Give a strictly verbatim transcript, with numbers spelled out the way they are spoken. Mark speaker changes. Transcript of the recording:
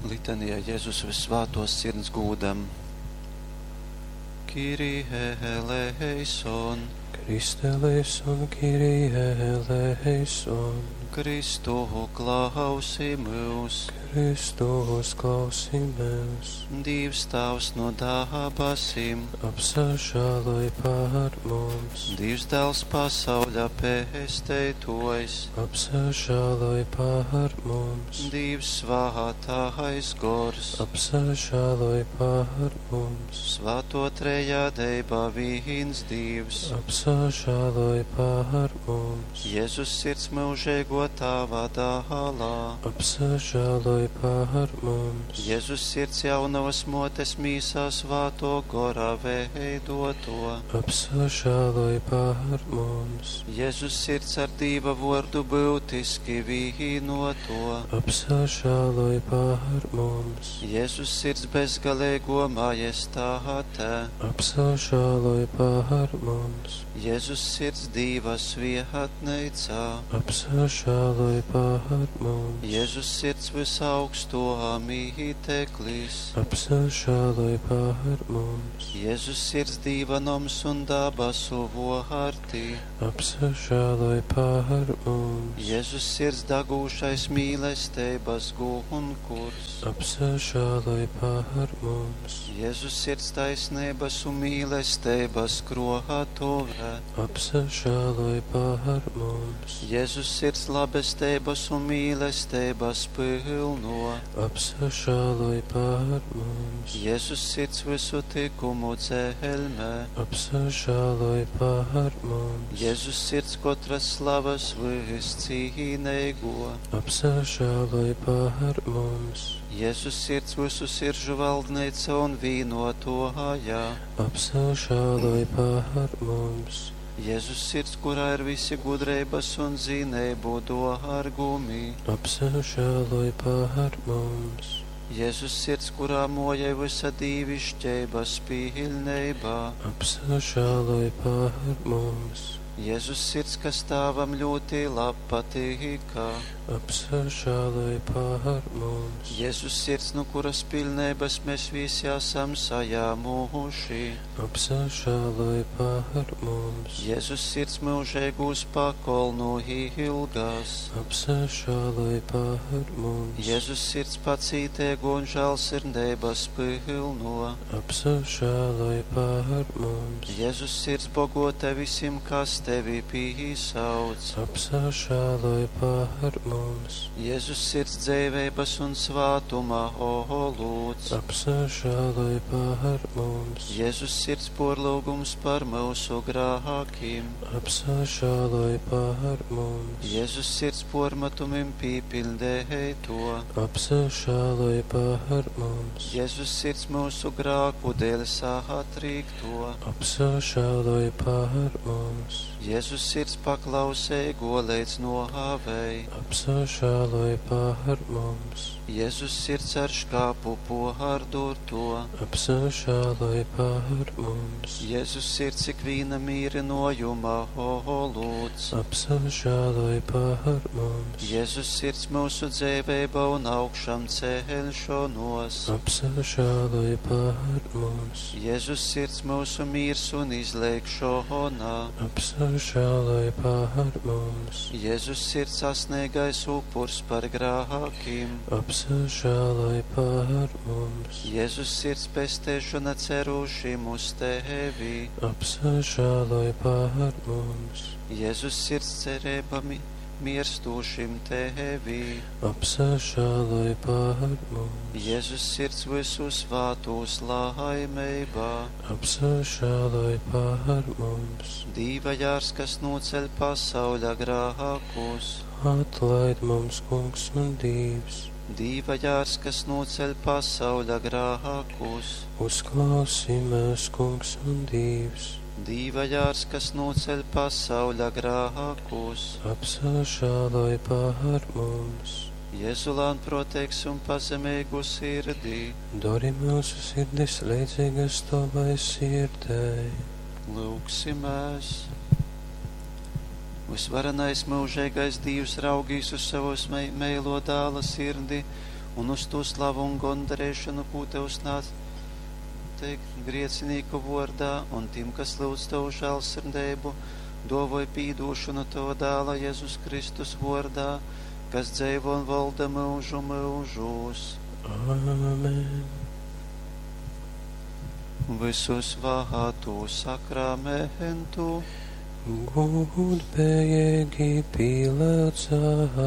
Speaker 1: Litanija Jezus Vyssvātōs Sirds gūdam. Kyrie eleison.
Speaker 2: Christe eleison, Kyrie eleison.
Speaker 1: Kristu klausi myus.
Speaker 2: Kristu uzklausi myus.
Speaker 1: Dīvs Tāvs no dabasim.
Speaker 2: Apsažāloj par mums.
Speaker 1: Dīvs Dāls pasauļa pesteitōjs.
Speaker 2: Apsažāloj par mums.
Speaker 1: Dīvs Svātais Gors.
Speaker 2: Apsažāloj par mums.
Speaker 1: Svāto trejadeiba vīns Dīvs.
Speaker 2: Apsažāloj par mums.
Speaker 1: Jēzus sirds mūžīgo Tāva dālā.
Speaker 2: Apsažāloj par mums.
Speaker 1: Jēzus sirds jaunavas motes mīsā svāto gorā veidoto.
Speaker 2: Apsažāloj par mums.
Speaker 1: Jēzus sirds ar Dīva vordu būtiski vīnoto.
Speaker 2: Apsažāloj par mums.
Speaker 1: Jēzus sirds bezgalīgo majestāte.
Speaker 2: Apsažāloj par mums.
Speaker 1: Jēzus sirds Dīva svietneicā.
Speaker 2: Apsažāloj par mums.
Speaker 1: Jēzus sirds visaugsto mīteklis.
Speaker 2: Apsažāloj par mums.
Speaker 1: Jēzus sirds Dīva noms un dabasu vārti.
Speaker 2: Apsažāloj par mums.
Speaker 1: Jēzus sirds dagūšais mīlestības gunkurs.
Speaker 2: Apsažāloj par mums.
Speaker 1: Jēzus sirds taisnības un mīlestības krotuve.
Speaker 2: Apsažāloj par mums.
Speaker 1: Jēzus sirds labestības un mīlestības pilno.
Speaker 2: Apsažāloj par mums.
Speaker 1: Jēzus sirds visu tikumu dzelmē.
Speaker 2: Apsažāloj par mums.
Speaker 1: Jēzus sirds katras slavas viscīnīgo.
Speaker 2: Apsažāloj par mums.
Speaker 1: Jēzus sirds visu siržu valdneica un vīnotoja.
Speaker 2: Apsažāloj par mums.
Speaker 1: Jēzus sirds, kurā ir visi gudrības un zinību dārgumi.
Speaker 2: Apsažāloj par mums.
Speaker 1: Jēzus sirds, kurā mojai visa dīvišķības pilnībā.
Speaker 2: Apsažāloj par mums.
Speaker 1: Jēzus sirds, kas Tēvam ļoti labpatīka.
Speaker 2: Apsažāloj par mums.
Speaker 1: Jēzus sirds, no kuras pilnības mēs visi esam sajāmuši.
Speaker 2: Apsažāloj par mums.
Speaker 1: Jēzus sirds mūžīgūs pakolnu ilgās.
Speaker 2: Apsažāloj par mums.
Speaker 1: Jēzus sirds pacītēgo un žēlsirdības pilno.
Speaker 2: Apsažāloj par mums.
Speaker 1: Jēzus sirds bogota visiem, kas tevi pīsauc.
Speaker 2: Apsažāloj par mums.
Speaker 1: Jēzus sirds dzīvības un svātuma olūts.
Speaker 2: Apsažāloj par mums.
Speaker 1: Jēzus sirds porlūgums par mūsu grākiem.
Speaker 2: Apsažāloj par mums.
Speaker 1: Jēzus sirds pormatumim pīpildēto.
Speaker 2: Apsažāloj par mums.
Speaker 1: Jēzus sirds mūsu grāku dēļ satrīkto.
Speaker 2: Apsažāloj par mums.
Speaker 1: Jēzus sirds paklausīgo līdz nohāvei.
Speaker 2: Apsažāloj par mums.
Speaker 1: Jēzus sirds ar škāpu pohārdurto.
Speaker 2: Apsažāloj par mums.
Speaker 1: Jēzus sirds ikvīna mīrinojuma olūts.
Speaker 2: Apsažāloj par mums.
Speaker 1: Jēzus sirds mūsu dzīvība un augšām celšanos.
Speaker 2: Apsažāloj par mums.
Speaker 1: Jēzus sirds mūsu miers un izlēkšana.
Speaker 2: Apsažāloj par mums.
Speaker 1: Jēzus sirds sasniegais upurs par grākiem.
Speaker 2: Apsažāloj par mums.
Speaker 1: Jēzus sirds pestēšana cerušim uz tevi.
Speaker 2: Apsažāloj par mums.
Speaker 1: Jēzus sirds cerība mi mirstošim tevi.
Speaker 2: Apsažāloj par mums.
Speaker 1: Jēzus sirds visu svātos laimībā.
Speaker 2: Apsažāloj par mums.
Speaker 1: Dīva jārs, kas noceļ pasauļa grākus.
Speaker 2: Atlaid mums, Kungs un Dievs.
Speaker 1: Dīva jārs, kas noceļ pasauļa grākus.
Speaker 2: Uzklausi mūs, Kungs un Dievs.
Speaker 1: Dīva jārs, kas noceļ pasauļa grākus.
Speaker 2: Apsažāloj par mums.
Speaker 1: Jēzu lēnprātīgs un pazemīgu sirdī.
Speaker 2: Dari mūsu sirdis līdzīgas tavai sirdei.
Speaker 1: Lūgsimies! Visvarenais mūžīgais Dievs raugīs uz savus meilo dāla sirdi un uz tū slavu un gondarīšanu, kū Tev snādz te griecinīku vōrdā, un tim, kas lūdz Tavu žēlsirdību, dōvoj pīdūšanu Tava dāla Jezus Kristus vōrdā, kas dzeivo un valda myužu myužūs.
Speaker 2: Amen.
Speaker 1: Visu svātu sakramentu
Speaker 2: Gudbējīgi pīlēcām,